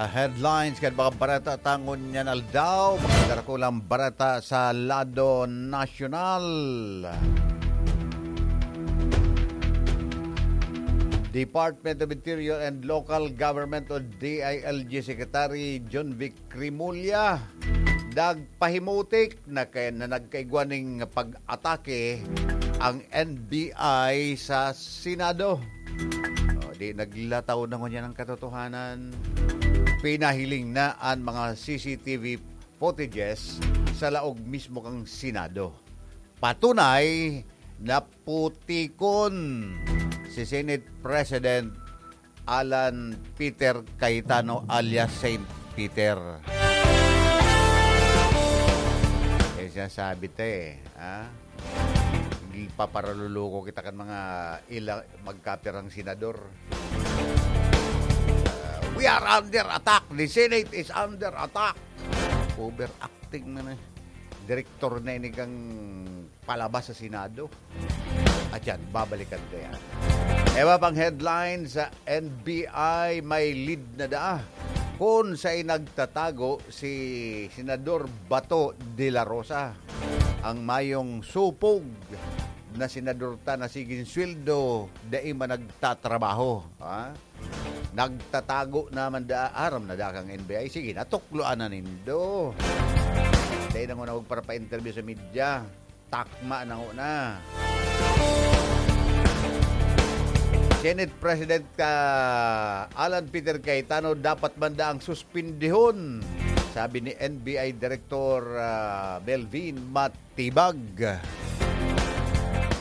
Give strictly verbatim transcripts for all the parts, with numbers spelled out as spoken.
Headlines kan mga bareta ta ngunyan aldaw, mga darakulang bareta sa lado nasyonal. Department of Interior and Local Government o D I L G Secretary Jonvic Remulla nagpahimutik na kay, na nagkaigwa ning pag-atake ang N B I sa Senado. O, di naglataw na ngunyan ang katotohanan. Pinahiling na an mga C C T V footages sa laog mismo kan Senado. Patunay na putikon si Senate President Alan Peter Cayetano alias Saint Peter. Eh, sinasabi ta eh, ha? Ipaparaluluko kita kan mga ila-, magkapirang senador. Uh, we are under attack. The Senate is under attack. Overacting man eh. Direktor na ini kang palabas sa Senado. At yan, babalikan ko yan. Ewa pang headline sa N B I, may lead na daa kun saan nagtatago si Senador Bato de la Rosa. Ang mayong supog na senador ta na sigin sweldo, dai man nagtatrabaho. Ha? Nagtatago naman da, aram na da kang N B I. Sige, natukloan na nindo. Dai na ko na magpapa-interview sa media. Takma na ko na. Senate President ka Alan Peter Cayetano dapat man da ang suspindihon, sabi ni N B I Director, ah, Melvin Matibag.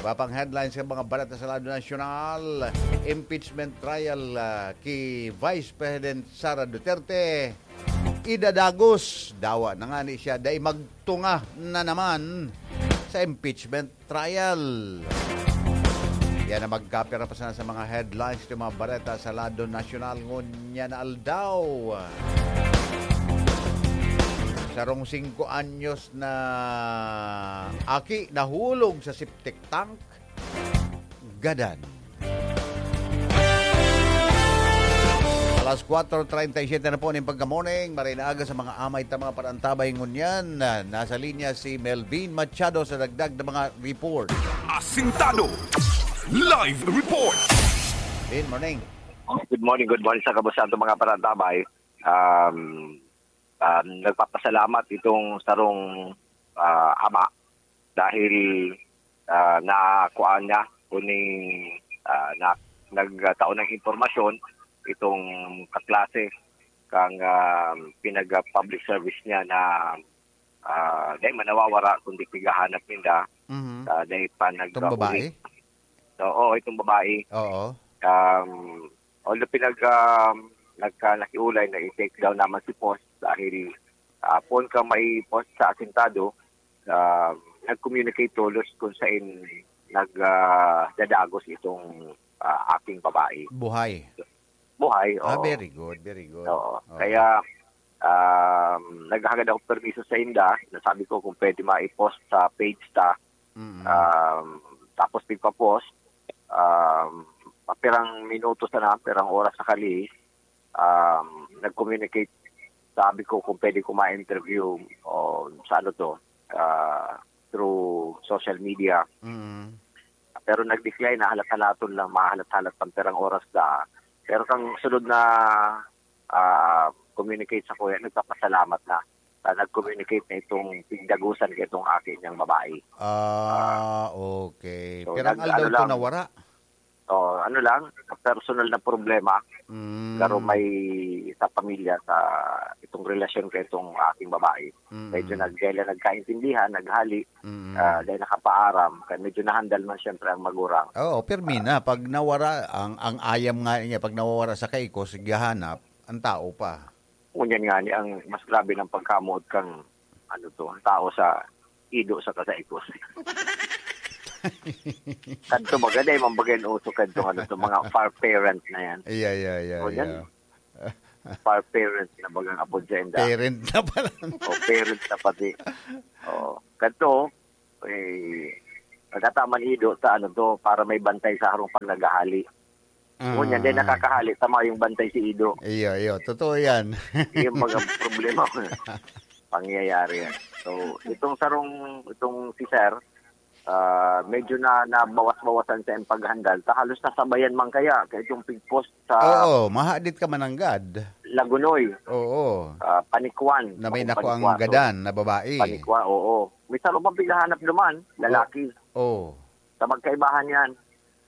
Iba pang headlines sa mga balita sa lado nasyonal, impeachment trial, ah, ki Vice President Sara Duterte. Idadagos, dawa na nga ni siya, dai magtunga na naman sa impeachment trial. Yan ang magkapira pa sana sa mga headlines ng mga bareta sa lado nasyonal ngunyan na aldaw. Sarong singko anyos na aki nahulog sa septic tank, gadan. Alas kwatro treinta y siete na po ning pagka-morning. Maray na aga sa mga amay ta mga parantabay ngunyan. Nasa linya si Melvin Machado sa dagdag na mga report. Asintado. Live report. Good morning. Good morning, good morning sa kabuusan itong mga parantabay. Um, um, nagpapasalamat itong sarong, ah, ama dahil, ah, nakuha niya kuning, ah, na, nagtao ng impormasyon itong kaklase kang, ah, pinag-public service niya na, ah, dahil manawawara kundi pighahanap ninda, Mhm. ah, dahil pa Itong nagkahuli. Babae? Oo, itong babae. Oo. Um, although pinag, um, nagka-, nakiulay na i-take down naman si post dahil, ah, poon ka mai-post sa asintado, um, nag-communicate tolos kung saan nag, ah, dadagos itong, ah, aking babae. Buhay? Buhay, Ah, oo. Very good, very good. Oo. Oo. Kaya, um, naghagad ako permiso sa inda, nasabi ko kung pwede ma-post sa page ta. Mm. Um, tapos nagpa-post, um, pirang minuto sana, pirang oras sakali, um, nag-communicate. Sabi ko kung pwede ko ma-interview o sa ano to, ah, through social media. Mm. Pero nag-decline, nahalat-halaton lang, mahalat-halat pang pirang oras na. Pero kang sunod na, ah, communicate sa kuya, nagpapasalamat na. Ah, nag-communicate na itong pigdagusan ka itong aki niyang babae. Ah, Ah. okay. So, Pirang nag-, aldaw ano to lang, nawara? Oh, ano lang, personal na problema. Mm. Pero may sa pamilya, sa itong relasyon ka itong aking babae. Mm. Medyo nag-, dahil lang nagkaintindihan, naghali, Mm. ah, dahil nakapaaram, kaya medyo nahandal man siyempre ang magurang. Oo, pirmi na. Pag nawara, ang, ang ayam nga niya, pag nawawara sa kaikos, gahanap, ang tao pa. Ngunyan nga ni ang mas grabe ng pagkamuot kang, ano to, ang tao sa ido sa kasaikos. Kadto baga, dahil man baga yung uso kadto, ano to, mga far parent na yan. Iya, iya, iya, Ngunyan, iya. Far parent na bagang apod sa inda. Parent na pala. O, parent na pati. Oo. Kadto, eh, nagkataman ido sa ano to, para may bantay sa harong pag naghahali. Ngunyan, dai nakakahali, tama yung bantay si Ido. Iyo, iyo. Totoo yan. Yung mga problema, pangyayari yan. So, itong sarong, itong si Sir, ah, medyo na nabawas-bawasan sa iyang paghandal. Ta halos nasabayan man kaya, kaya itong pigpost sa Oo, mahadit ka mananggad. Lagunoy, Oo. ah, Panikwan. Na may Ako, nakuang Panikwaso. gadan na babae. Panikwan, oo. May sarong pang pighahanap naman, lalaki. Oo. Sa magkaibahan yan.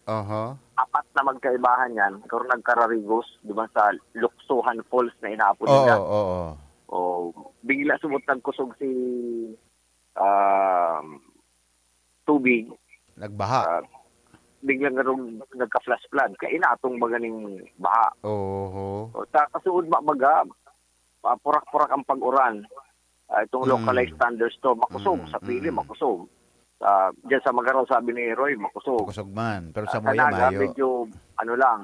Aha. Apat na magkaibahan yan, pero nagkararigos, di ba, sa Luksuhan Falls na inaapod Oo, nila. oo. O, bigla subot nagkusog si, um, tubig. Nagbaha. Ah, biglang nagka-flash flood. Kaya inatong baga ning baha. Oho. O, ta-, kasuod ba baga, ah, purak-purak ang pag-uran. Ah, itong Mm. localized thunderstorm, makusog. Mm, Sa Pili, mm. makusog. Ah, dyan sa Magarao, sabi ni Roy, makusog. Makusog man. Pero sa Ah, sa Muya, Naga, mayo. medyo, ano lang,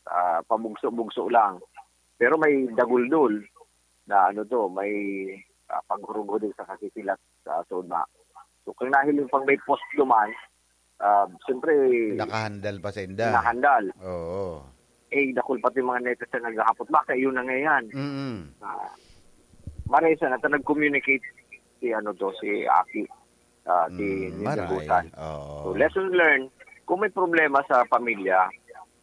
ah, pabugso-bugso lang. Pero may daguldol na ano to, may, ah, paghurog-hurog sa kasikilat sa Sona. So, kung nahiling pang may post duman, ah, siyempre, Nakahandal pa sa inda. nahandal. Oo. Eh, dakul pati mga netizen naghahapot, "Baka yun na nga yan." Mm. Ah, maray sana, ta nag-communicate si ano to, si Aki, ah, si Mm, Ninja maray. Butan. Oo. So, lesson learned, kung may problema sa pamilya,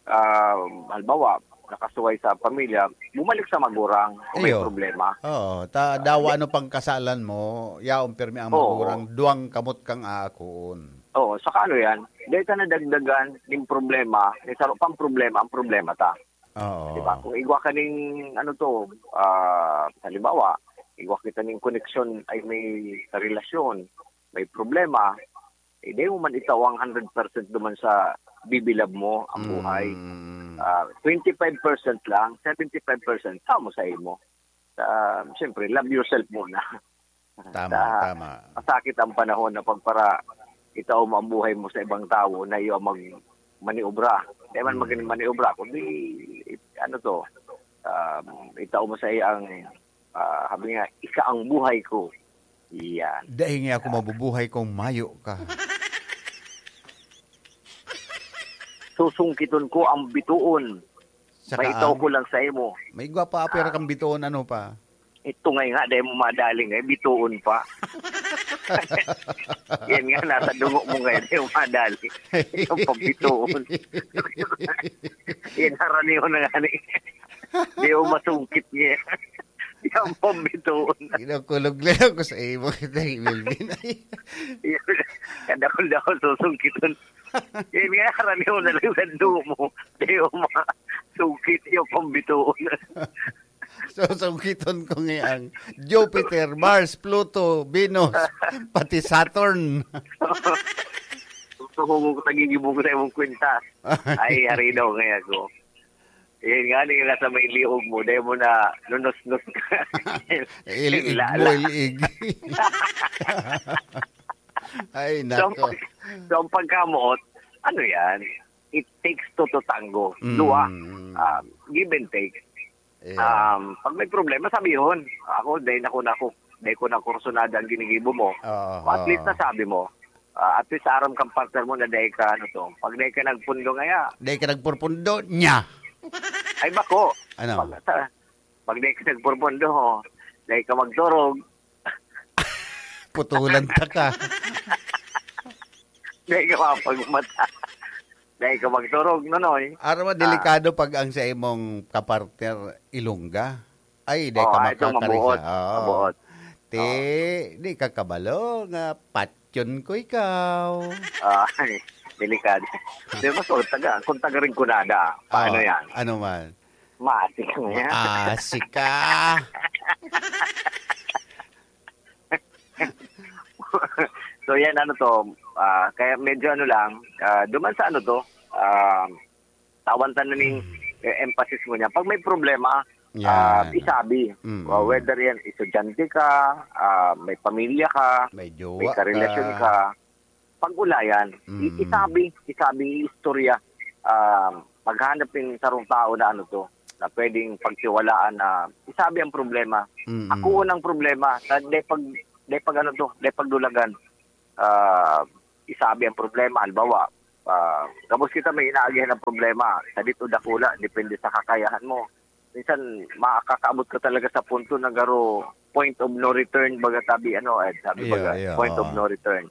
ah, halimbawa, nakasuway sa pamilya, bumalik sa magurang kung may Iyo. problema. Oo, ta-, dawa ano pang kasalan mo, yaon pirmi ang Oo. magurang, duwang kamot kang aakoon. Oo, saka ano yan, dahil ka nadagdagan ng problema, may saro pang problema, ang problema ta. Oo. Di ba? Kung igwa ka ning, ano to, ah, halimbawa, igwa kita ning koneksyon ay may karelasyon, may problema, eh, di mo man itao ang hundred percent duman sa bibilab mo ang buhay. Mm. Ah, twenty-five percent lang, seventy-five percent, sa mo sa imo. Ah, siyempre, love yourself muna. Tama, Sa tama. masakit ang panahon na pagpara, itao mo ang buhay mo sa ibang tao na iyo ang mag-, maniobra. Di man Hmm. maging maniobra, kundi, ano to, um, itao mo sa iya ang, ah, sabi nga, "Ika ang buhay ko." Yan. Dai nga ako mabubuhay kung mayo ka. Susungkiton ko ang bituon. Saka May itaw ang ko lang sa imo. May igwa pa, pero Ah. kang bituon, ano pa? Ito nga nga, dahil mo madaling eh, bituon pa. Yan nga, nasa dungo mo ngayon, dahil mo madaling. Ikaw pa bituon. Yan, haraniho na nga ni. Di mo masungkit niya. Yan pa bituon. Kinukulog lang ako sa imo, kita ni Melvin. Ay. Yan, kadakol-dakol, susungkiton. Yan nga, haraniho na lang sa dungo mo. Di mo masungkit, yan pa bituon. So, sungkiton ko ngayang Jupiter, Mars, Pluto, Venus, pati Saturn. Gusto ko kung nagigibong sa imong kwenta. Ay, ari daw ngaya ko. Yan nga, nila sa may liog mo, dahil mo na nunusnos ka. Ilig Lala. mo, ilig. Ay, So, nako. pag-, so, ang pagkamoot, ano yan? It takes two to tango. Mm. Dua. Um, give and take. Yeah. Um, pag may problema, sabihon. Ako, dahil ako na ako, dahil ko na kursunada ang ginigibo mo. Oo, At least oo. nasabi mo. Ah, at least aram kang partner mo na dahil ka, ano to. Pag dahil ka nagpundo ngaya. Dahil ka nagpurpundo niya. Ay, bako. Ano? Pag, sa, pag dahil ka nagpurpundo, oh, dahil ka magturog. Putulan ta ka. Dahil ka mapagmata. Dahil ka magturog, Nonoy. Aram mo, Ah. delikado pag ang sa imong kapartner Ilongga. Ay, di Oh, ka ah, ito, makakaisa. mabuot. Oo. Mabuot. Ti, Oh. di ka kabalo nga patyon ko ikaw. Ah, ay, delikado. Di ba, so, taga, kung taga Rinconada, paano Oh, yan? ano man? Maasik ka ngayon. Maasik ka. So, yan, ano to, ah, kaya medyo ano lang, ah, duman sa ano to, ah, tawan ta na ning, Hmm. eh, emphasis mo niya. Pag may problema, Yan. ah, isabi. Mm. Ah, whether yan, estudyante ka, ah, may pamilya ka, May jowa may karelasyon ka. ka, pag-ulayan, i-, Mm. isabi, isabi, istorya. Ah, maghanap yung sarong tao na ano to, na pwedeng pagtiwalaan na isabi ang problema. Mm. Ako unang problema, na de pag, de pag ano to, de pagdulagan. Ah, isabi ang problema, halimbawa, Ah, gabos kita may inaagihan na problema. Sadit o dakula, depende sa kakayahan mo. Minsan, makakaabot ka talaga sa punto na garo point of no return, baga sabi, ano, Ed, sabi, Iyo, baga, iyo, point of oo. no return.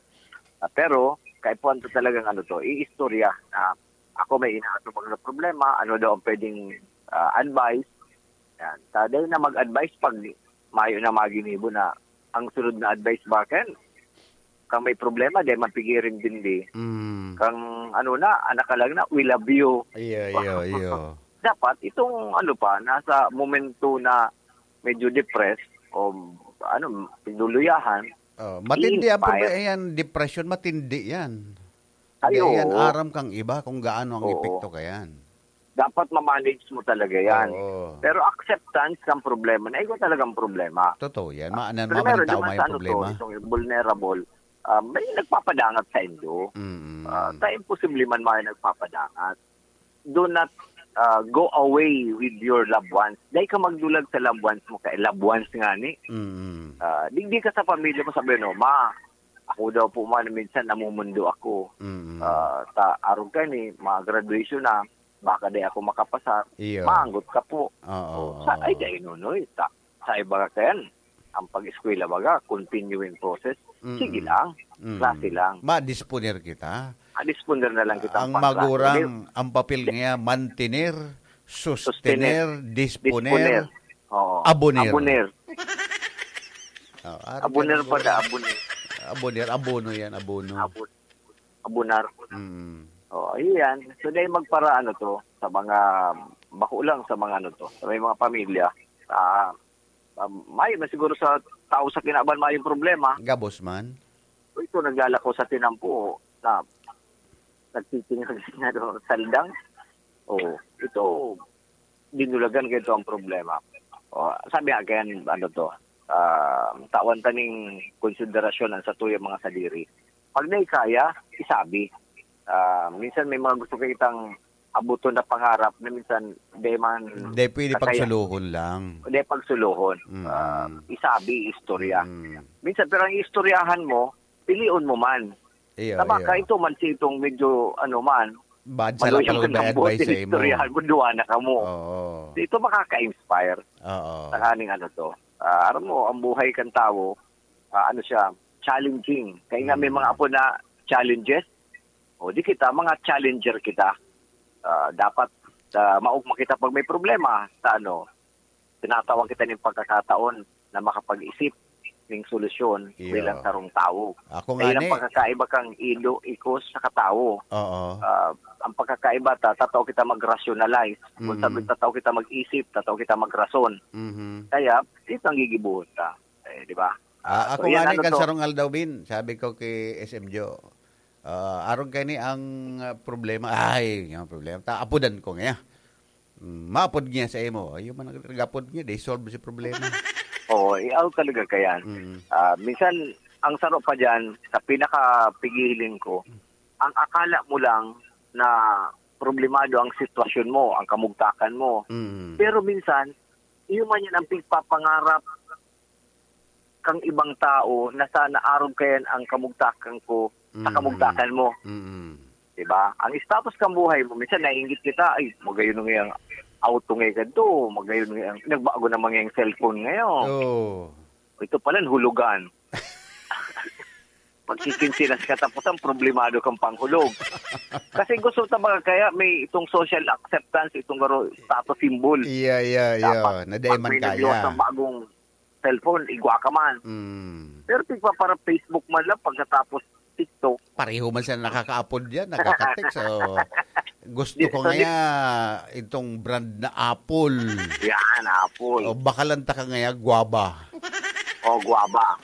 Ah, pero, kaipuhan to talagang ano to, iistorya na ako may inaatubang na problema, ano daw ang pwedeng, ah, advice. Yan. Sa dahil na mag-advise pag mayo na maginibo na ang sunod na advice ba, Ken? Kang may problema, di man pigirin dindi. Mm. Kang ano na, anak ka lang na, we love you. Iyo, iyo, iyo. Dapat itong ano pa, nasa momento na medyo depressed o ano, pinuluyahan, Oh, matindi ang i-inspire. Problema yan, depression, matindi yan. Ay, Kaya yan, oo. aram kang iba kung gaano ang Oo. epekto kayan. Dapat ma-manage mo talaga yan. Oo. Pero acceptance ng problema, na ikaw talagang problema. Totoo yan. Ma-, na, Primero, mamantaw duman may sa ano problema. to, itong vulnerable, ah, may nagpapadangat sa indo. Mm. Ah, sa imposible man may nagpapadangat. Do not, ah, go away with your loved ones. Dahil ka magdulag sa loved ones mo, kay loved ones nga ni. Mm. Ah, digdi ka sa pamilya mo, sabi, "No, ma, ako daw po man, minsan namumundo ako." Mm. Ah, ta, arog ka ni, mga graduation na, baka di ako makapasar. Iyo. Maanggot ka po. Oo, O, sa, oo. ay, dahil nunoy, ta, sa iba ka yan, ang pag-eskwela baga, continuing process. Mm. Sige lang. Mm. Klase lang. Ma-disponer kita. Ma-disponer na lang kita Ang pang klase. magurang, Di- ang papel niya, mantener, sustener, Sustener, disponer, disponer. Oo. aboner. Aboner. Oh, aram Aboner ka na pala, aboner. Aboner, abono yan, abono. Abon-, abonar. Mm. Oh, ayan. So, dahil magpara, ano to, sa mga, bako lang sa mga, ano to, sa may mga pamilya, ah, ah, may, may siguro sa tao sa kinaban, may problema. Gabos man. Ito, naglalako sa tinampo, na nagtitingog na doon sa saldang. Oh, ito, dinulagan kayo ang problema. Oh, sabi nga, kaya, ano to, ah, tawan ta ning konsiderasyon ang satuyang mga sadiri. Pag naikaya, isabi. Ah, minsan may mga gusto kitang abuton na pangarap na minsan di man Di pwede kasaya. pagsulohon lang. Di pagsulohon. Mm. Ah, isabi, istorya. Mm. Minsan, pero ang istoryahan mo, pilion mo man. Iyo, Na baka iyo. ito man si itong medyo, ano man, Bad sa maluyang lapal na na advice buti sa imo. istoryahan mo, duwa na ka mo. Oo. Ito makaka-inspire. Oo. Sa kaning ano to. Ah, aram mo, ang buhay kan tawo, ah, ano siya, challenging. Kaya nga may Mm. mga apo na challenges. O di kita, mga challenger kita. Ah, dapat, ah, maugma kita pag may problema. Sa ano, tinatawag kita ng pagkakataon na makapag-isip ng solusyon Iyo. bilang sarong tawo. Ako Dahil nga ang ni. pagkakaiba kang ilo, ikos, sa katawo. Oo. Ah, ang pagkakaiba, ta, tatao kita mag-rationalize. Kung Mm. sabi, tatao kita mag-isip, tatao kita magrason. Mhm. Kaya, ito ang gigibuhon ta. Eh, di ba? Ah, Ah, ako so, nga yan ni, ano kan to? sarong aldaw, Bin, sabi ko kay S M Joe, ah, arog kay ni ang, ah, problema, ay, yung problema, ta, apudan ko nga. Mm, maapod niya sa imo. Yung man nag-, nag-apod niya, they solve si problema. Oo, eh, ako talaga kayan. Mm. Ah, minsan, ang saro pa dyan, sa pinakapigiling ko, ang akala mo lang na problemado ang sitwasyon mo, ang kamugtakan mo. Mm. Pero minsan, iyo man yan ang pigpapangarap kang ibang tao na sana arog kayan ang kamugtakan ko sa Mm. kamugtakan mo. Mm. Diba? Ang status kang buhay mo, minsan naiinggit kita, "Ay, magayon na nga yung auto ngayon kadto, magayon na nga yung, nagbago naman nga yung cellphone ngayon." Oh. Ito pala, hulugan. Pagkikinsinas ka, tapos ang problemado kang panghulog. Kasi gusto ta mga kaya may itong social acceptance, itong garo status symbol. Iya, iya, iya. Dapat Nadaiman pag may nagluwas kaya. ng bagong cellphone, igwa ka man. Mm. Pero tigpa para Facebook man lang pagkatapos TikTok. Pareho man sila nakakaapod yan, nakaka-text. So, gusto Di, ko so, di- nga itong brand na Apple. Yan, Apple. O, baka lang taka nga yan, guaba. O, guaba.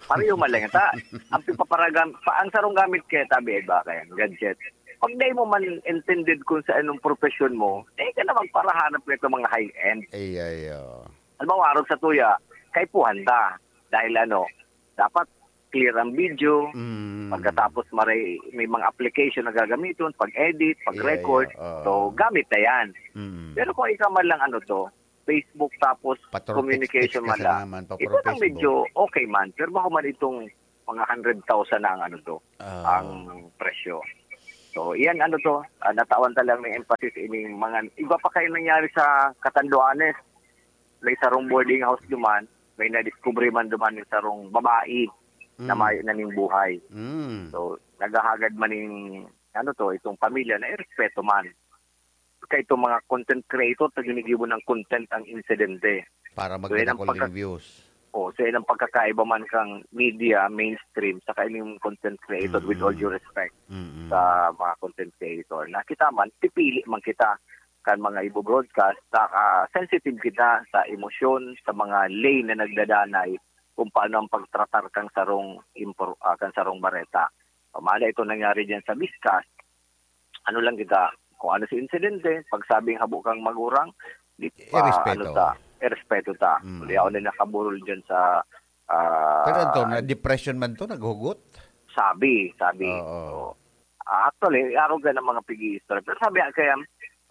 Pareho man lang ta. Ang pipaparagan, pa, ang sarong gamit kaya tabi ay ba kaya, gadget. Pag dahil mo man intended kung sa anong profession mo, eh ka na magparahanap nito mga high-end. Ay, ay, oh. Alam mo, arog sa tuya, kaipuhan ta. Dahil ano, dapat clear ang video. Mm. Pagkatapos maray, may mga application na gagamiton, pag-edit, pag-record. Yeah, yeah. Oo. So, gamit na yan. Mm. Pero kung ikaw man lang ano to, Facebook tapos Patro communication text-text man ka lang. sana man, pa Ito pro lang Facebook. medyo okay man. Pero baka man itong mga hundred thousand na ang ano to, Ah. ang presyo. So, iyan ano to, ah, natawan ta lang may emphasis ining mga iba pa kayo nangyari sa Catanduanes. May sarong boarding house duman, may nadiskubre man duman yung sarong babae na Mm. mayo na ning buhay. Mm. So, naghahagad man ning, ano to, itong pamilya na irespeto man. Kaya itong mga content creator, na ginigibo ng content ang insidente. Para So, yan ang magdadakol pagka- ning views. Oh, so yan ang pagkakaiba man kang media, mainstream, saka yung content creator, with all Mm. due respect Mm. sa mga content creator. Nakita man, pipili man kita kan mga ibo-broadcast, saka sensitive kita sa emosyon, sa mga lane na nagdadanay, kung paano ang pagtratar kang sarong impor-, ah, kang sarong bareta. Pamala ito nangyari diyan sa Biscas, ano lang kita, kung ano si insidente, pagsabing habo kang magurang, di pa, Irespeto. ano ta, irespeto ta. Mm. Kaya ako na nakaburol dyan sa, ah, Pero ito, na depression man to, naghugot? Sabi, sabi. Oo. Oo. Actually, arog ka ng mga pigi-istorya. Pero sabi nga kaya,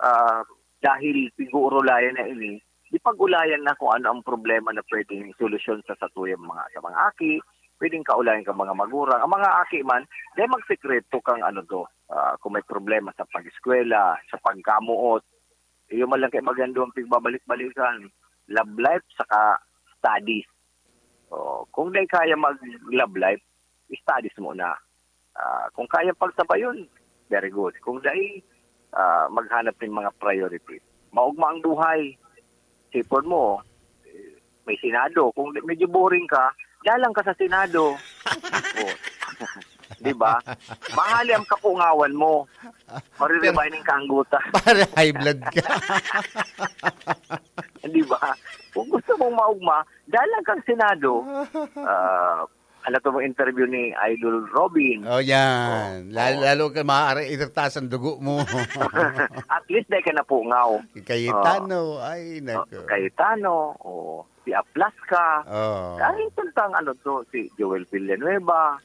ah, dahil pig-uurulayan na ini, di pag-ulayan na kung ano ang problema na pwedeng solusyon sa satuyang mga, sa mga aki, pwedeng kaulayan ka mga magurang. Ang mga aki man, di magsekreto kang ano to, ah, kung may problema sa pag-eskwela, sa pagkamuot, iyo man lang kay magando ang pigbabalik-balikan, love life saka studies. Oh, kung di kaya mag-love life, studies muna. Ah, kung kaya pagsabayon, very good. Kung dai, ah, maghanap ng mga priorities. Maugma ang buhay. Sipon mo, eh, may Senado. Kung di- medyo boring ka, dalang ka sa Senado. Oh. Di ba? Mahali ang kapungawan mo. Mariribayin ka ang guta. Para high blood ka. Di ba? Kung gusto mong maugma, dalang kang Senado. Ah, ano to mong interview ni Idol Robin? Oh, yan. Oh, Lalo, oh. lalo ka maaari itirtas ang dugo mo. At least, dahil ka napungaw. Cayetano, Oh. ay, Oh, nako. Cayetano, oh. Si Aplasca. Oh. Dahil tantang ano to, si Joel Villanueva,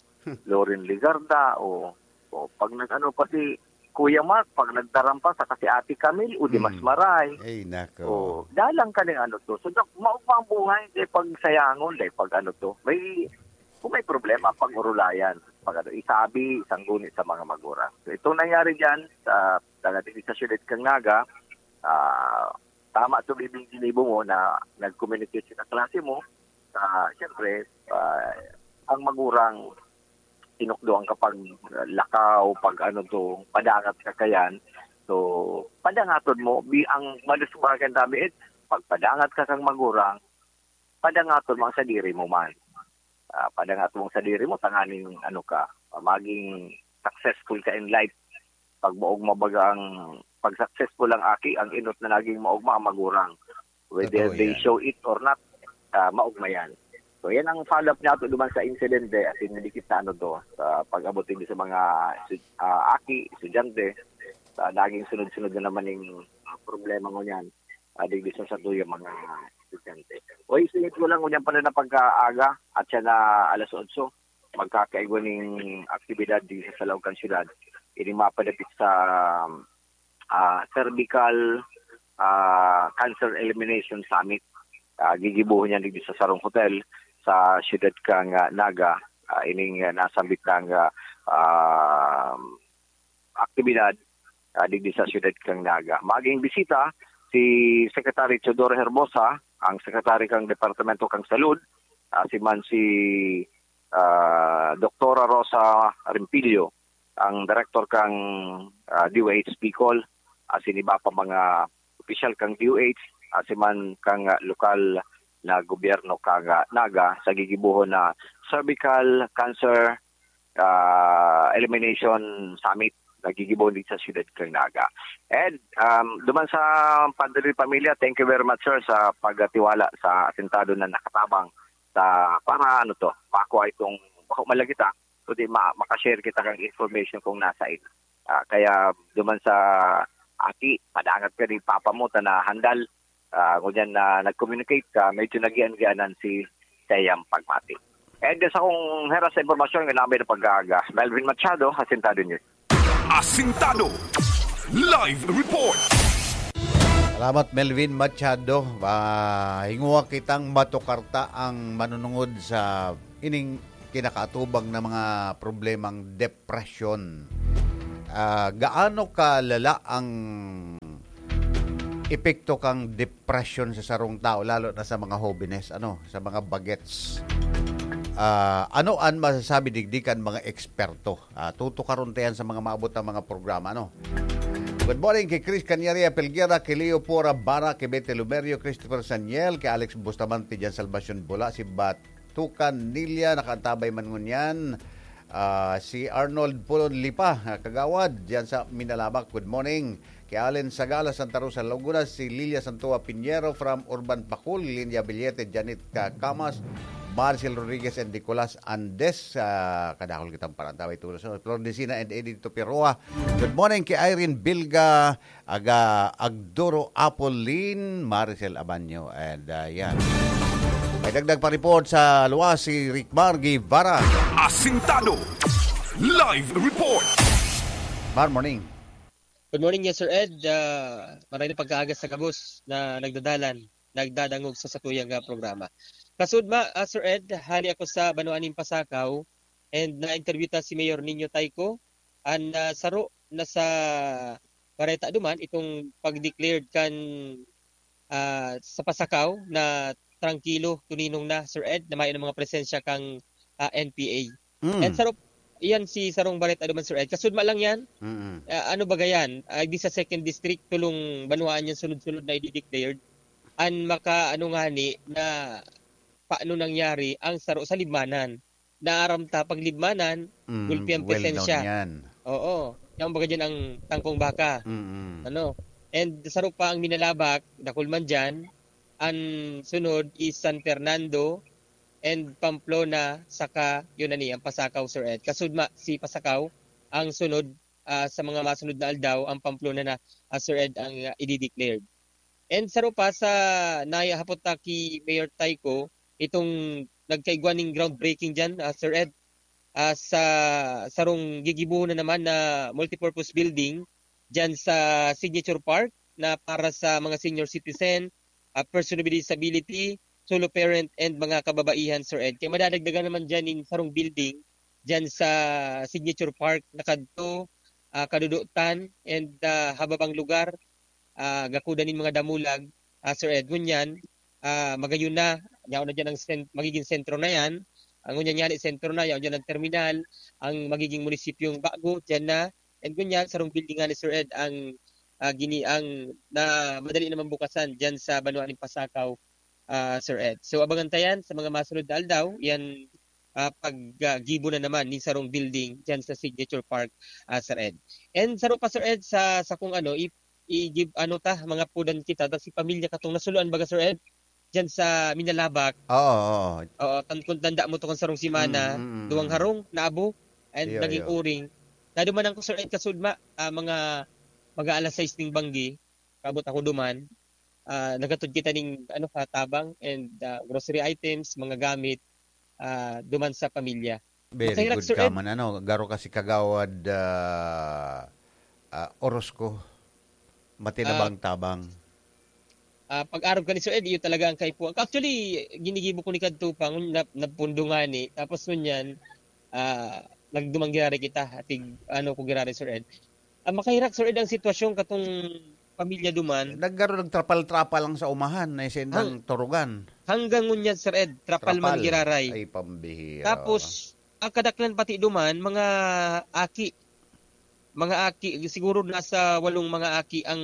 Loren Legarda, oh. Oh, pag nag-ano pa si Kuya Mark, pag nagtarampa sa kasi Ate Camille, o di mas Mm. maray. Ay, nako. Oh, dalang ka ng ano to. So, dak-, maugma ang buhay, di pag sayangon, di pag ano to. May, kung may problema, pag-urulayan. Pag ano, isabi, isang guni sa mga magurang. So, itong nangyari dyan, sa, sa, sa siyudad kang Naga, ah, tama to, Bibing, ginibo mo na nag-communicate sa klase mo. Ah, siyempre, ah, ang magurang tinukdo ang kapag lakaw, pag ano to, padangat ka kayan. So, padangaton mo, bi-, ang malusbagan dami, eh, pagpadangat ka kang magurang, padangaton mo ang sadiri mo man. Ah, padangaton mo ang sadiri mo, tanganing ano ka, ah, maging successful ka in life. Pag maugma baga ang, pag successful ang aki, ang inot na naging maugma ang magurang. Whether Totoo they yan. show it or not, ah, maugma yan. So, yan ang follow-up niya ato duman sa insidente, as in, dikit na ano to, sa pag-abot din sa mga estu-, ah, aki, estudyante, sa naging sunod-sunod na naman yung, ah, problema ngunyan, ah, digdi sa satuya mga estudyante. O, isingit ko lang ngunyan pala na pagkaaga, at siya na alas otso, magkakaigwa ning aktibidad di sa Salaukan Siyudad. Ini mapadapit sa, ah, Cervical, ah, Cancer Elimination Summit. Ah, gigibuhon niya digdi sa sarong hotel sa siyudad kang, ah, Naga. Ah, ining, ah, nasambit na nga, ah, aktibidad, ah, digdi sa siyudad kang Naga. Maging bisita si Secretary Teodoro Herbosa, ang Secretary kang Departamento kang Salud, ah, si man si, ah, Doktora Rosa Rempilio, ang Director kang, ah, D O H Bicol, ah, si iba pa mga opisyal kang D O H, ah, si man kang, ah, lokal na gobyerno kang, ah, Naga sa gigibuhon na Cervical Cancer, ah, Elimination Summit na gigibuhon dito sa siyudad kang Naga. And, um, duman sa Padre Pamilya, thank you very much, sir, sa pagtiwala sa asintado na nakatabang sa, para ano to, makuha itong, bako malagita, kundi ma-, makashare kita kang information kung nasa ito. Ah, kaya duman sa aki, padangat ka ni papa mo, ta na handal, ah, ngunyan na nag-communicate ka, medyo nagian-gianan si sayang pagmati. And sa kung heras sa impormasyon, nga namin na pag-aaga, Melvin Machado, Asintado News. Asintado Live Report. Salamat, Melvin Machado. Ah, hinguha kitang matukarta ang manunungod sa ining kinakaatubang na mga problemang depresyon. Ah, gaano kalala ang epekto kang depression sa sarong tao, lalo na sa mga hobenes, ano, sa mga bagets? Ah, ano an masasabi digdi kan mga eksperto? Ah, tutukaron ta yan sa mga maabot na mga programa, ano? Good morning kay Chris Canyaria Pelguera, kay Leo Pora Bara, kay Betty Lumerio, Christopher Saniel, kay Alex Bustamante, Jan Salvacion Bula, si Batukan Nilia, nakaantabay man ngunyan. Ah, si Arnold Pulon Lipa, ah, kagawad, diyan sa Minalabac. Good morning. Kay Allen Sagala, Santa Rosa, Laguna, si Lilia Santoa Piñero from Urban Pacul, Lilia Billete, Janet Ka-, Camas, Marcel Rodriguez and Nicolas Andes, ah, kadakol kitang parantabay tulos. Flor Decina and Edith Tupiroa. Good morning kay Irene Bilga, Aga Agduro Apolin, Maricel Abanyo, and, ah, yan. May dagdag pa report sa luwas si Rickmar Guevara. Asintado. Live report. Mar, morning. Good morning, yes, Sir Ed. Ah, maray na pagkaaga sa gabos na nagdadalan, nagdadangog sa satuyang, ah, programa. Kasudma, ah, Sir Ed, hali ako sa banwaan nin Pasakaw and na-interview ta si Mayor Nino Tayco. An, ah, saro na sa bareta duman, itong pag-declared kan, ah, sa Pasakaw na trangkilo, tuninong na, Sir Ed, na mayo na mga presensya kang, ah, N P A. Mm. And saro, iyan si sarong bareta duman, Sir Ed. Kasudma lang yan. Mm-mm. Ah, ano ba gayan? Ah, di sa second district, tulong banwaan yan sunod-sunod na i-declared. An maka, ano ngani, na paano nangyari ang saro sa Libmanan. Naaram ta, pag Libmanan, Mm, gulpi ang well known presensya. Yan. Oo. Yan baga dyan ang tangkong baka. Mm-mm. Ano? And saro pa ang Minalabac, dakul man dyan. Ang sunod is San Fernando and Pamplona, saka yun na ni, ang Pasakaw, Sir Ed. Kasudma, si Pasakaw, ang sunod, ah, sa mga masunod na aldaw, ang Pamplona na, ah, Sir Ed, ang, ah, i-declared. And saro pa sa nahapot ta ki Mayor Tayco, itong nagkaigwa ning groundbreaking diyan, ah, Sir Ed, ah, sa sarong gigibohon na naman na multipurpose building diyan sa Signature Park na para sa mga senior citizen, ah, person with disability, solo parent, and mga kababaihan, Sir Ed. Kaya madadagdagan naman diyan ning sarong building diyan sa Signature Park na kadto, ah, kadudotan and, ah, hababang lugar, ah, gakudan nin mga damulag, ah, Sir Ed. Ngunyan, ah, magayon na, yaon na diyan ang sen-, magiging sentro na yan. Ang ngunyan yan, sentro na, yaon diyan ang terminal, ang magiging munisipyong bago, diyan na. And ngunyan, sarong building nga ni Sir Ed, ang, ah, gini-, ang na madali naman bukasan diyan sa banwa nin Pasakaw, ah, Sir Ed. So, abangan ta yan sa mga masunod na aldaw, yan, ah, pag, ah, gibo na naman nin sarong building diyan sa Signature Park, ah, Sir Ed. And saro pa, Sir Ed, sa, sa kung ano, i-, i-give, ano ta, mga pudan kita, ta si pamilya katong nasuluan baga, Sir Ed, diyan sa Minalabac. Oo, oo. Oo, tan-, kung tanda mo to, kung sarong semana, Mm, mm, mm. duwang harong, naabo, and Iyo, naging iyo. uring. Nadumanan ko, Sir Ed, kasudma, ah, mga, mga alas sais ning banggi, kaabot ako duman. Ah, naghatod kita ning, ano, katabang and, ah, grocery items, mga gamit, ah, duman sa pamilya. Very Makahirak, good Sir ka Ed. man, ano, garo ka si Kagawad, ah, ah, Orozco. Matinabang-tabang. Ah, pag-arog ka ni Sir Ed, iyo talaga ang kaipuhan. Actually, ginigibo ko ni kadto pa, ngun-, nap-, napundo ngani. Tapos ngunyan, ah, nagduman giraray kita, atig, ano ko giraray, Sir Ed. Ah, makahirak, Sir Ed, ang sitwasyon katong pamilya duman. Naggaro, nagtrapal-trapal lang sa umahan, na isendang Hang-, turugan. hanggang ngunyan, Sir Ed, trapal man Trapal. giraray. Ay, pambihira. Tapos, ang kadaklan pati duman, mga aki. Mga aki, siguro nasa walong mga aki ang,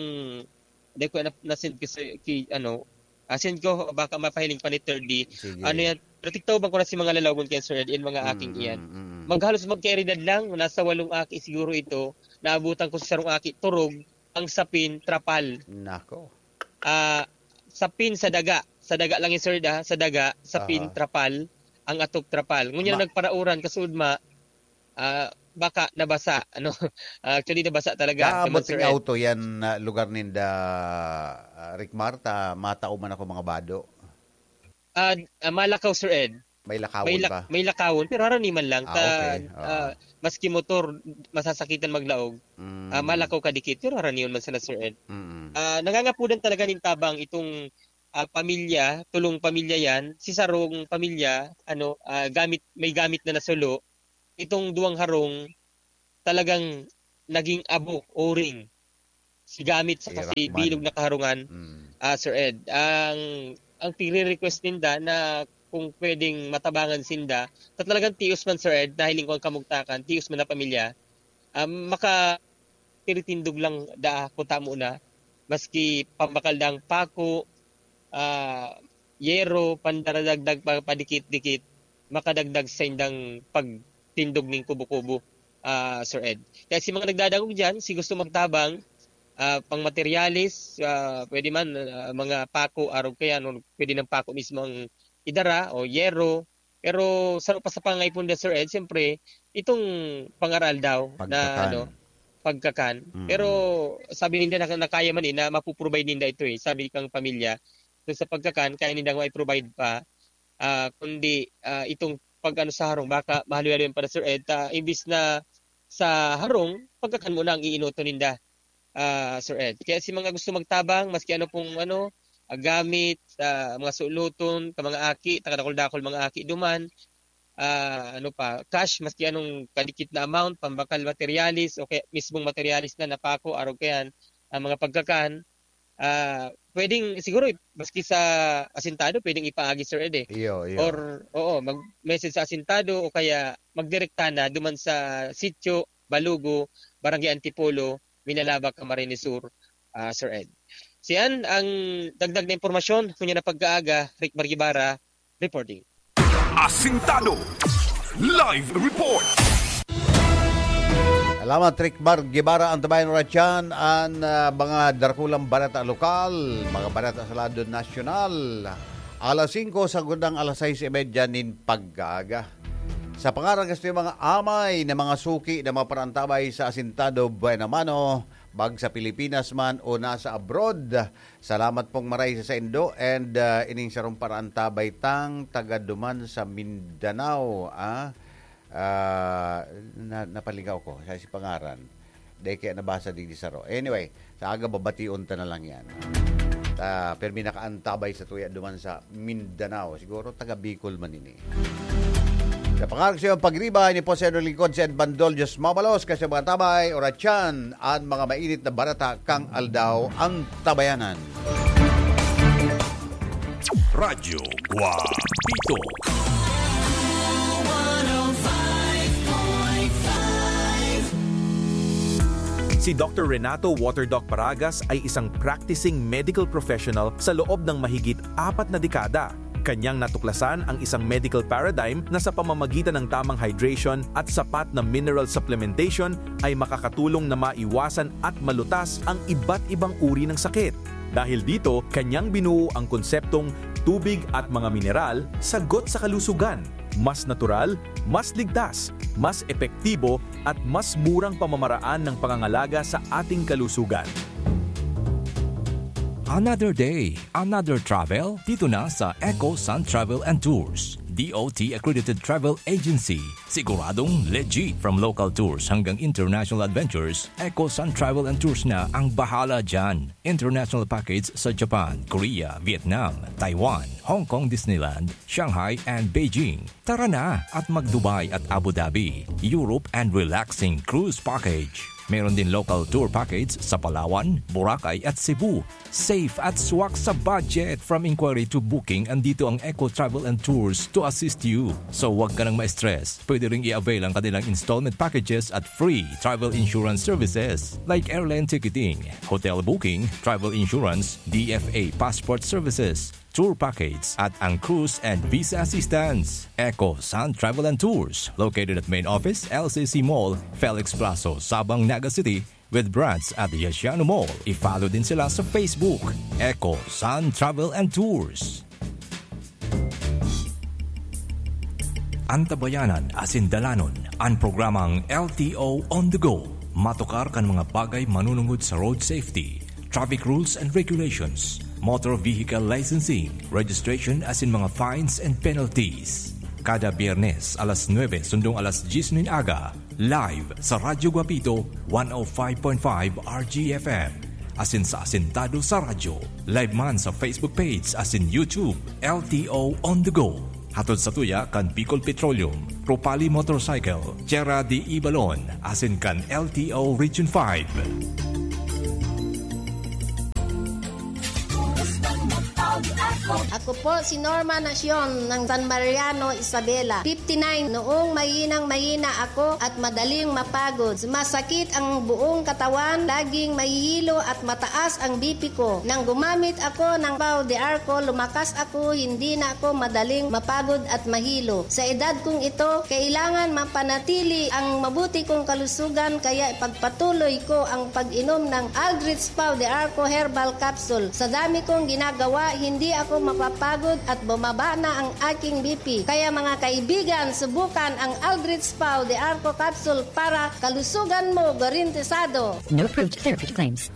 di ko na, na-send ko sa, ki-, ano, ah, send ko, baka mapahiling pa ni Third D. Sige. Ano yan, protektaw bang ko na si mga lalawagon kaya, Sir Ed, in mga Mm, aking iyan. mm, mm. Maghalos magkaeridad lang, nasa walong aki siguro ito, naabutan ko sa sarong aki, turog, ang sapin, trapal. Nako. Ah, sapin sa daga. Sa daga lang yun, Sir Ed, ah. Sa daga, sapin, Aha. trapal, ang atok, trapal. Ngunyan Ma- nagparauran, kasudma, ah, baka nabasa, ano? Ah, actually, nabasa talaga, Kaabot naman, Sir ning Ed. auto yan, ah, lugar ninda, ah, Rick Marta, matao man ako mga bado. Ah, ah, Malakaw, Sir Ed. May lakawon May lak-, ba? may lakawon, pero haraniman lang. Ah, Ta-, okay. Oo. ah, maski motor, masasakitan maglaog. Mm. Ah, Malakaw kadikit, pero haraniwan man sana, Sir Ed. Mm. Ah, nangangapudan talaga nin tabang itong, ah, pamilya, tulong pamilya yan. Si sarong pamilya, ano, ah, gamit, may gamit na nasulo. Itong duwang harong, talagang naging abo, o-ring, si gamit saka Hirak si man. bilog na kaharungan, Mm. ah, Sir Ed. Ang, ang pire-request ninda na kung pwedeng matabangan sinda, sa talagang tios man, Sir Ed, nahiling ko ang kamugtakan, tios man na pamilya, ah, maka-, tiritindog lang daa kung tamo na, maski pambakal dang pako, ah, yero, pandaradagdag pa, padikit-dikit, makadagdag sa indang pagtindog ning kubo-kubo, ah, Sir Ed. Kaya si mga nagdadangog diyan, si gusto magtabang, ah, pang materyales, ah, pwede man, ah, mga pako, arog kaya, no, pwede ng pako mismo ang idara o yero. Pero sa pa, sa pangaipo nila, Sir Ed, siyempre, itong pangaral daw na, Pagkakan. ano, pagkakan. Mm. Pero sabi ninda na, na kaya man eh, na mapu-provide ninda ito eh, sabi kang pamilya. So, sa pagkakan, kaya ninda nga i-provide pa. Ah, kundi, ah, itong pag-ano sa harong, baka mahaloy-haloy pa na, Sir Ed, ah, imbis na sa harong, pagkakan muna ang iinoto ninda, ah, Sir Ed. Kaya si mga gusto magtabang, maski ano pong ano, ah, gamit, ah, mga suloton, ka mga aki, takadakol-dakol mga aki duman, ah, ano pa, cash, maski anong kadikit na amount, pambakal materyales, o kaya mismong materyales na, napako, arog kayan, ang mga pagkakan, ah, pwedeng, siguro, maski sa asintado, pwedeng ipaagi, Sir Ed, eh. Iyo, iyo. Or, oo, mag-message sa asintado o kaya magdirekta na duman sa Sitio Balugo, Barangay Antipolo, Minalabac, Camarines Sur, ah, Sir Ed. Siyan ang dagdag na impormasyon. Ngunyan na pagkaaga, Rick Margibara, reporting. Asintado. Live report. Salamat, Rick Mar Guevara. Antabayan oras yan an, ah, mga darakulang bareta lokal, mga bareta sa lado nasyonal. Alas singko, sagkod na an alas sais y medya nin pagkaaga. Sa pangaran kan satuyang mga amay na mga suki na mga parantabay sa Asintado Buena Mano, bag sa Pilipinas man o nasa abroad, salamat pong maray sa saindo, and, ah, ining sarong parantabay tang taga duman sa Mindanao, ah. Ah, na-, napaligaw ko sa si pangaran. Dai kaya nabasa digdi saro. Anyway, sa aga babation ta na lang yan. Ta, pirmi nakaantabay sa tuya duman sa Mindanao. Siguro taga Bicol man ini. Sa pangaran sa iyong pagriba, ini po sa iyong lingkod, si Ed Bandol, Diyos mabalos, kasi mga tabay, oratyan, an mga mainit na bareta kang aldaw, ang tabayanan. Radyo Guapito. Si Doctor Renato Waterdoc Paragas ay isang practicing medical professional sa loob ng mahigit apat na dekada. Kanyang natuklasan ang isang medical paradigm na sa pamamagitan ng tamang hydration at sapat na mineral supplementation ay makakatulong na maiwasan at malutas ang iba't ibang uri ng sakit. Dahil dito, kanyang binuo ang konseptong tubig at mga mineral, sagot sa kalusugan. Mas natural, mas ligtas, mas epektibo, at mas murang pamamaraan ng pangangalaga sa ating kalusugan. Another day, another travel, dito na sa Eco Sun Travel and Tours, D O T accredited travel agency. Siguradong legit. From local tours hanggang international adventures, Eco Sun Travel and Tours na ang bahala dyan. International package sa Japan, Korea, Vietnam, Taiwan, Hong Kong Disneyland, Shanghai, and Beijing. Tara na at mag-Dubai at Abu Dhabi, Europe, and relaxing cruise package. Meron din local tour package sa Palawan, Boracay, at Cebu. Safe at swak sa budget. From inquiry to booking, andito ang Eco Travel and Tours to assist you. So, wag ka nang ma-stress. Pwede ring i-avail ang kanilang installment packages at free travel insurance services like airline ticketing, hotel booking, travel insurance, D F A passport services, tour package, at ang cruise and visa assistance. Eco Sun Travel and Tours, located at main office, L C C Mall, Felix Plazo, Sabang, Naga City, with branch at Yasiano Mall. I-follow din sila sa Facebook, Eco Sun Travel and Tours. Antabayanan asin dalanon an programang L T O On The Go. Matukar kan mga bagay manunungod sa road safety, traffic rules and regulations, motor vehicle licensing, registration asin mga fines and penalties. Kada Biyernes, alas nuebe sundong alas dyes nin aga, live sa Radyo Guapito, one oh five point five R G F M. Asin sa Asintado sa Radyo, live man sa Facebook page asin YouTube, L T O On The Go. Hatod sa tuya kan Bicol Petroleum, Propali Motorcycle, Tierra de Ibalon, asin kan L T O Region five. Ako po si Norma Nacion ng San Mariano, Isabela, fifty-nine. Noong mahinang-mahina ako at madaling mapagod, masakit ang buong katawan, laging mahihilo at mataas ang B P ko. Nang gumamit ako ng Pau de Arco, lumakas ako, hindi na ako madaling mapagod at mahilo. Sa edad kong ito, kailangan mapanatili ang mabuti kong kalusugan, kaya ipagpatuloy ko ang pag-inom ng Aldrich Pau de Arco Herbal Capsule. Sa dami kong ginagawa, hindi ako mapapagod at bumaba na ang aking B P. Kaya mga kaibigan, subukan ang Aldrich Pau de Arco Capsule para kalusugan mo garantisado. No approved therapy claims.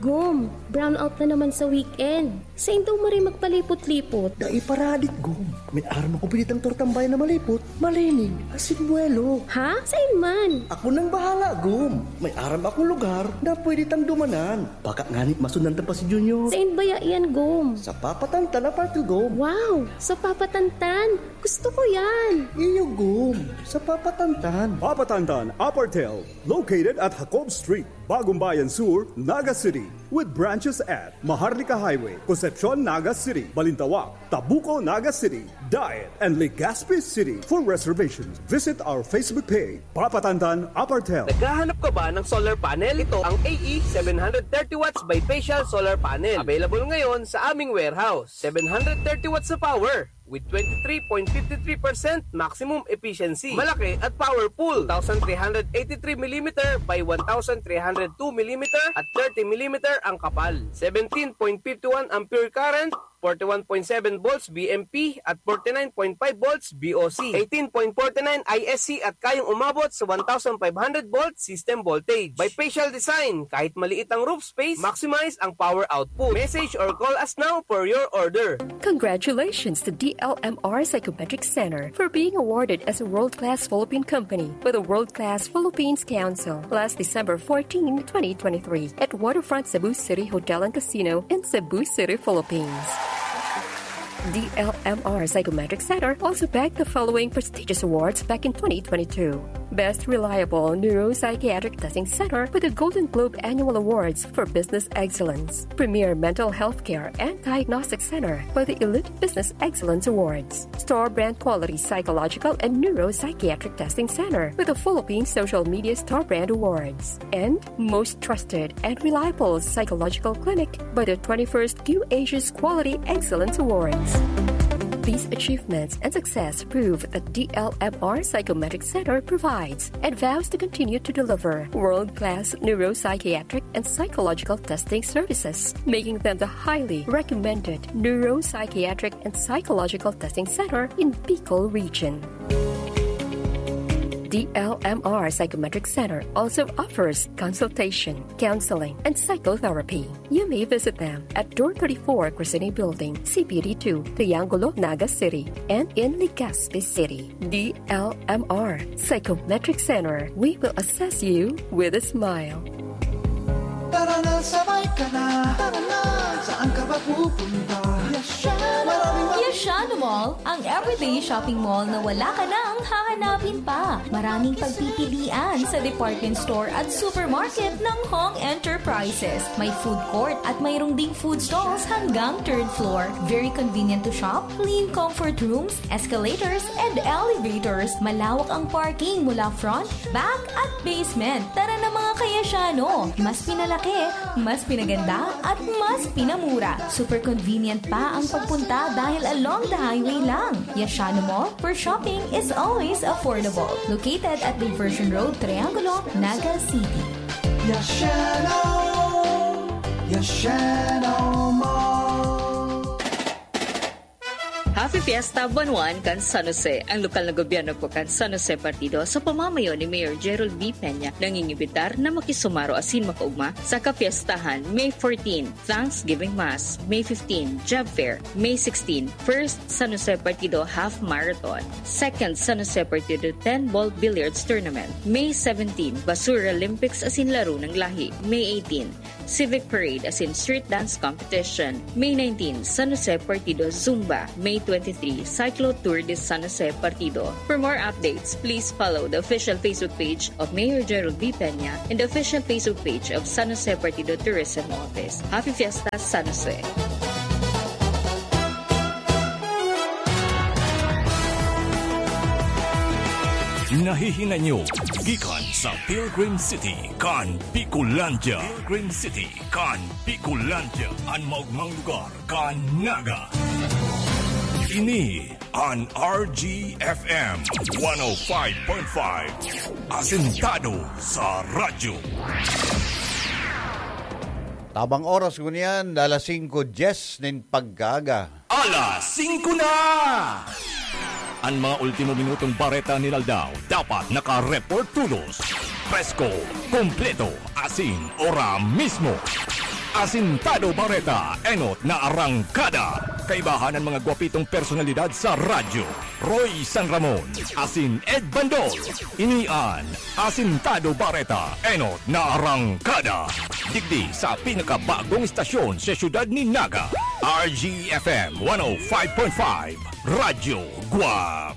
Gum, brownout na naman sa weekend. Sain daw maray magpalipot-lipot? Dai paradik, Gum. May aram ako pinitang tortang bayan na malipot, malinig, asin buwelo. Ha? Sain man? Ako nang bahala, Gum. May aram akong lugar na pwede tang dumanan. Baka ngani masundan ta pa si Junior. Sain baya yan, Gum? Sa Papa Tantan, Apartel, Gum. Wow! Sa Papa Tantan! Gusto ko yan! Iyo, Gum. Sa Papa Tantan. Papa Tantan, Apartel. Located at Jacob Street, Bagumbayan Sur, Naga City, with branches at Maharlika Highway, Concepcion, Naga City, Balintawak, Tabuco, Naga City, Daet, and Legazpi City. For reservations, visit our Facebook page, Papa Tantan Apartel. Naghahanap ka ba ng solar panel? Ito ang A E seven hundred thirty watts bifacial solar panel. Available ngayon sa aming warehouse. Seven hundred thirty watts na power with twenty-three point fifty-three percent maximum efficiency. Malaki at powerful. Two thousand three hundred eighty-three millimeter by one thousand three hundred two millimeter at thirty millimeter ang kapal. Seventeen point fifty-one ampere current, forty-one point seven volts B M P at forty-nine point five volts B O C. Eighteen point forty-nine I S C at kayang umabot sa one thousand five hundred volt system voltage. Bifacial design, kahit maliit ang roof space, maximize ang power output. Message or call us now for your order. Congratulations to D L M R Psychometric Center for being awarded as a world-class Philippine company by the World Class Philippines Council last December fourteen, twenty twenty-three, at Waterfront Cebu City Hotel and Casino in Cebu City, Philippines. D L M R Psychometric Center also bagged the following prestigious awards back in twenty twenty-two. Best Reliable Neuropsychiatric Testing Center with the Golden Globe Annual Awards for Business Excellence, Premier Mental Health Care and Diagnostic Center for the Elite Business Excellence Awards, Store Brand Quality Psychological and Neuropsychiatric Testing Center with the Philippine Social Media Store Brand Awards, and Most Trusted and Reliable Psychological Clinic by the twenty-first Q Asia's Quality Excellence Awards. These achievements and success prove that D L M R Psychometric Center provides and vows to continue to deliver world-class neuropsychiatric and psychological testing services, making them the highly recommended neuropsychiatric and psychological testing center in Bicol Region. D L M R Psychometric Center also offers consultation, counseling, and psychotherapy. You may visit them at Door thirty-four, Crescene Building, C P D two, Triangulo, Naga City, and in Legazpi City. D L M R Psychometric Center. We will assess you with a smile. Tara na, sabay ka na. Tara na, saan ka ba pupunta? Yashano! Maraming Yashano Mall, ang everyday shopping mall na wala ka nang hahanapin pa. Maraming pagpipilian sa department store at supermarket ng Hong Enterprises. May food court at mayroong ding food stalls hanggang third floor. Very convenient to shop, clean comfort rooms, escalators, and elevators. Malawak ang parking mula front, back, at basement. Tara na, mga Kayasyano! Mas pinalaki, mas pinaganda, at mas pinamura. Super convenient pa ang pagpunta dahil along the highway lang. Yashano Mall, where shopping is always affordable. Located at Diversion Road, Triangulo, Naga City. Yashano! Yashano Mall! Happy Fiesta, Bunuan kan San Jose! Ang lokal na gobyerno po kan San Jose Partido sa pamamayo ni Mayor Gerald V. Peña nangingibitar na makisumaro asin makaugma sa kapiestahan May fourteen, Thanksgiving Mass, May fifteen, Job Fair, May sixteen, First San Jose Partido Half Marathon, Second San Jose Partido ten Ball Billiards Tournament, May seventeen, Basura Olympics asin Laro ng Lahi, May eighteen, Civic Parade asin Street Dance Competition, May nineteen, San Jose Partido Zumba, May twenty-three Cyclo Tour de San Jose Partido. For more updates, please follow the official Facebook page of Mayor Gerald V. Peña and the official Facebook page of San Jose Partido Tourism Office. Happy Fiesta, San Jose! Nahihinay nyo gikan sa Pilgrim City kan Bicolandia. Pilgrim City kan Bicolandia, an maogmang lugar kan Naga. Ini an R G F M one oh five point five, asentado sa radyo. Tabang oras ngunyan, alas singko dyes nin pagkaaga. Alas singko na! An mga ultimo minutong bareta nin aldaw dapat naka-report tolos, presko, kompleto, asin ora mismo. Asintado Bareta, enot na arangkada. Kaibahan an mga gwapitong personalidad sa radyo, Roy San Ramon, asin Ed Bandol. Ini an Asintado Bareta, enot na arangkada. Digdi sa pinakabagong istasyon sa siyudad nin Naga, R G F M one oh five point five, Radyo Guapi.